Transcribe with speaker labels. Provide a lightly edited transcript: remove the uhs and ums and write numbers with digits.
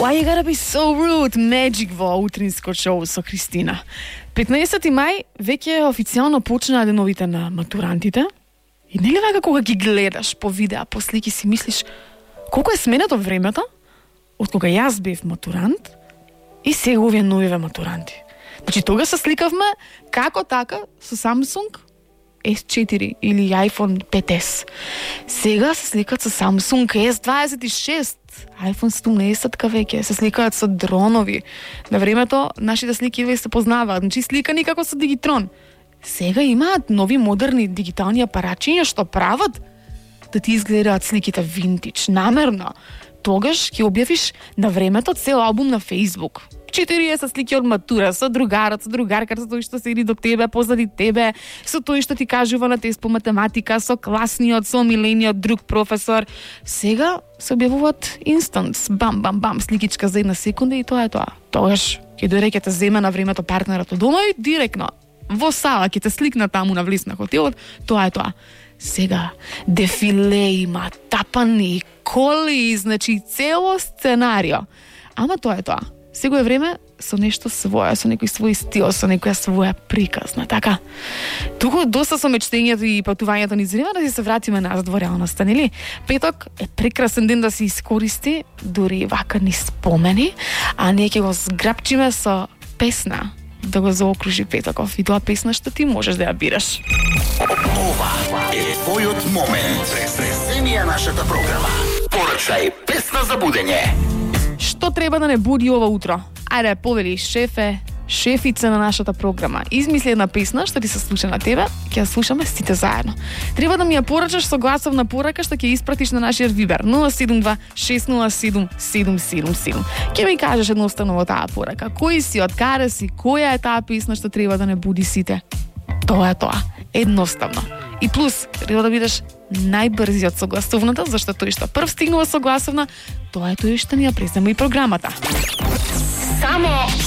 Speaker 1: Why you gotta be so rude? Magic во утринско шоу со Кристина. 15 мај веќе официјално почнаа деновите на матурантите. И нели вака кога ги гледаш по видеа, по слики си мислиш колку е сменето времето од кога јас бев матурант и сега овие новиве матуранти. Значи тога се сликавме како така со Samsung S4 или iPhone 5S. Сега се сликаат со Samsung S26, iPhone 17 веќе, се сликаат со дронови. На времето нашите слики веќе се познаваат, значи сликани како со Digitrон. Сега имаат нови модерни дигитални апаратчиња што прават да ти изгледаат сликите винтидж, намерно. Тогаш ќе објавиш на времето цел албум на Facebook. 40 слики од матура, со другарот, со другарката, со тој што седи до тебе, позади тебе, со тој што ти кажува на тест по математика, со класниот, со омилениот друг професор. Сега се објавуваат инстанс, бам, бам, бам, сликичка за една секунда и тоа е тоа. Тогаш ќе дојде ќе те земе на времето партнерот од дома и директно во сала ќе те сликна таму на влез на хотелот, тоа е тоа. Сега дефиле има, тапани, коли, значи цело сценарио. Ама тоа е тоа. Сега е време со нешто свое, со некој свој стил, со некоја своја приказна, така? Туку доста со мечтењето и патувањето низ време да се вратиме назад во реалноста, нели? Петок е прекрасен ден да се искористи, дури вака ни спомени, а ние ќе го зграпчиме со песна да го заокружи петоков. И тоа песна што ти можеш да ја бираш.
Speaker 2: Ова е твојот момент. Преземија нашата програма. Порачај песна за будење.
Speaker 1: Што треба да не буди ова утро? Ајде, повели шефе, шефица на нашата програма. Измисли една песна што ти се слуша на тебе, ќе ја слушаме сите заедно. Треба да ми ја порачаш со гласовна порака што ќе испратиш на нашиот Вибер 072 607 777. Ќе ми кажеш едноставно во таа порака кој си, од каде си, која е таа песна што треба да не буди сите. Тоа е тоа. Едноставно. И плюс, треба да бидеш најбрзиот со гласовната, зашто тој што прв стигнува со гласовна, тоа е тој што ни ја презема и програмата.
Speaker 2: Само